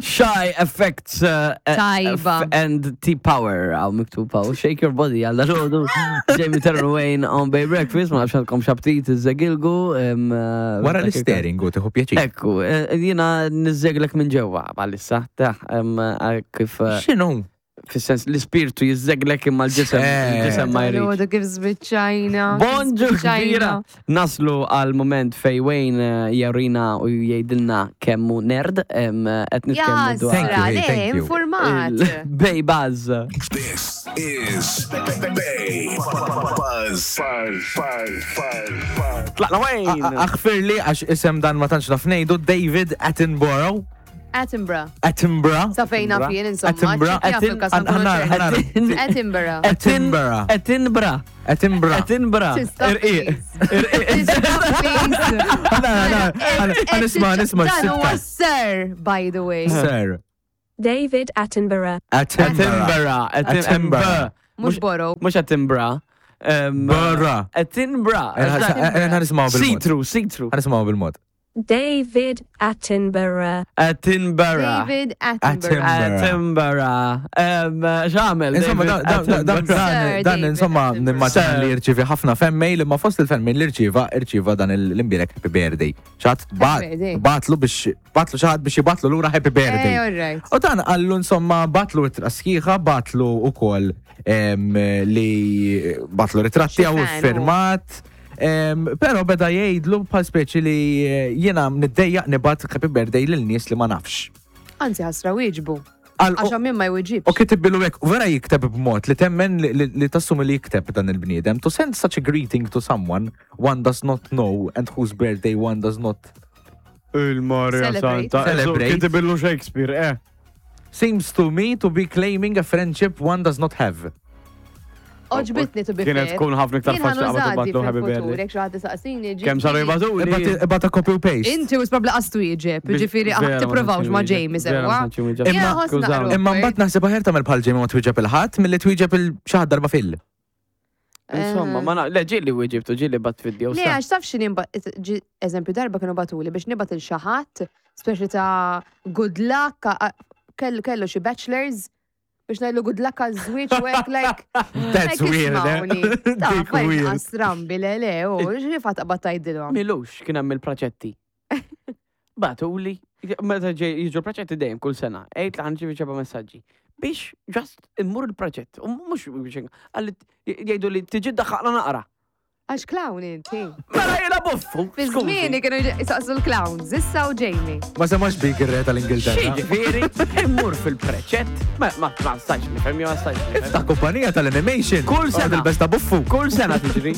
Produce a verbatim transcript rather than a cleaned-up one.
Shy Effects uh, Tajba. F and T Power għaw miktub għaw. Shake your body għal dal-ħodu. Jamie Turner Wayne on Bay Breakfast, ma nafx għandkom x'aptit iżżegilgu. em, uh, Wara l-steering u tieħu pjaċir. Ekku, eh, jiena niżżeglek minn ġewwa bħalissa, ta' em, eh, kif eh, X'inhu? fis-sens l-ispirtu jiżżeglek imma l-ġisem Eh. il-ġisem ma jridx. Għodu kif zbiċċajna. Bonġu Zbiċċajna. kbira! Naslu għal moment fej Wayne eh, jarina u jgħidilna kemmu nerd, em, eh, qed nitkellmu dwar Thank you, Jasra, hey, le, thank you. informat. il-Bay Buzz. This is Bay Buzz. Buzz. Buzz. Buzz. Tlaqna Wayne! Aħfirli għax isem dan ma tantx naf ngħidu David Attenborough. Attenborough. Attenborough. Sa fejna fien, insomma. Attenborough. ċekja fil-kas Atten- nkunu Ħanar- ċerti. ħanar- Attenborough. Attenborough. Attenborough. Attenborough. Attenborough. Tista' Irqiq. please. Tista' please. Ħanar, ħanar, ħanisma, nisma' Dan huwa x-sitka. sir, by the way. Sir. David Attenborough. Attenborough. Attenborough. Attenborough. Mhux borough. Mux Attenborough. Em, Borough. Attenborough. Ħanismaw bil-mod. See-through, see-through. Ħanismaw bil-mod. David Attenborough. Attenborough. David Attenborough. Attenborough. Em, X'għamel? Insomma, David dan- dan- dan- Attenborough? Sir dan dan David insomma Attenborough. nimmaġina Sir. li jirċivi ħafna fan mail imma fost il-fan mail li rċiva irċiva dan l-imbierek happy birthday. Xi ħadd birthday. bagħatlu biex bagħatlu xi ħadd biex jibgħatlu lura happy birthday. Eh, all right. U dan qallu insomma bagħatlu ittra sħiħa, bagħatlu ukoll em, li bagħatlu ritratti Xi għaw fan hu. firmat. em, Pero beda jgħidlu bħal speċi li eh, jiena niddejjaq nibgħat happy birthday lil nies li ma nafx. Anzi, ħasra wieġbu. Għal- Għax min ma jweġibx. U kitiblu hekk, u vera jikteb b'mod li temmen li, li, li tassumi li jikteb dan il-bniedem. To send such a greeting to someone one does not know and whose birthday one does not Il-Maria Celebrate. Santa. Celebrate. Kitibillu Shakespeare, eh. seems to me to be claiming a friendship one does not have. Għoġbitni to be Kienet fair. tkun ħafna iktar Jien faċli qabel ħanużadi tibgħatlu happy fil-futur, birthday. jekk xi ħadd isaqsini. Kemm saru jibgħatuli? Ibgħata copy u paste. Inti u probably qastu jieġeb, ġifieri Vera, ma tipprovawx ma' tantx Jamie vera, sewwa. ma tantx jwieġeb. Jiena Imma- ħoss Skużawni. naqra Imma mbagħad naħseb aħjar tagħmel bħal Jamie ma twieġeb il-ħadd milli twieġeb il xi ħadd darba fil. Insomma, ma na, le ġieli wieġibtu, ġieli bgħatt video. Le, sa. għax taf xini eżempju darba kienu bagħtuli biex nibgħat lil xi ħadd, speċi ta' good luck, a- kellu kellu xi bachelors, biex ngħidlu good luck għal żwieġ u hekk like. That's like weird, eh? ismawni. Ta' Dik fajn weird. Strambi, le, le, u xi fatt qabad tgħidilhom. Milux kien hemm il-praċetti. Bagħtuli, meta ġej jiġu l-praċetti dejjem kull sena, għejt li ħa nirċievi ċerta messaġġi. Biex just immur il-praċett, u mhux biex għalli jgħidu li tiġi daħħaqna naqra. Għax clown inti. Mela jiena buffu. Fi żmieni kienu jisaqsu l-clowns, issa u Jamie. Ma semax bik ir-re tal-Ingilterra. Ġifieri, immur fil-preċett, ma ma ma stax nifhem, ma stax nifhem. Ta' kumpanija tal-animation. Kull sena. Il-besta buffu. Kull sena tiġri.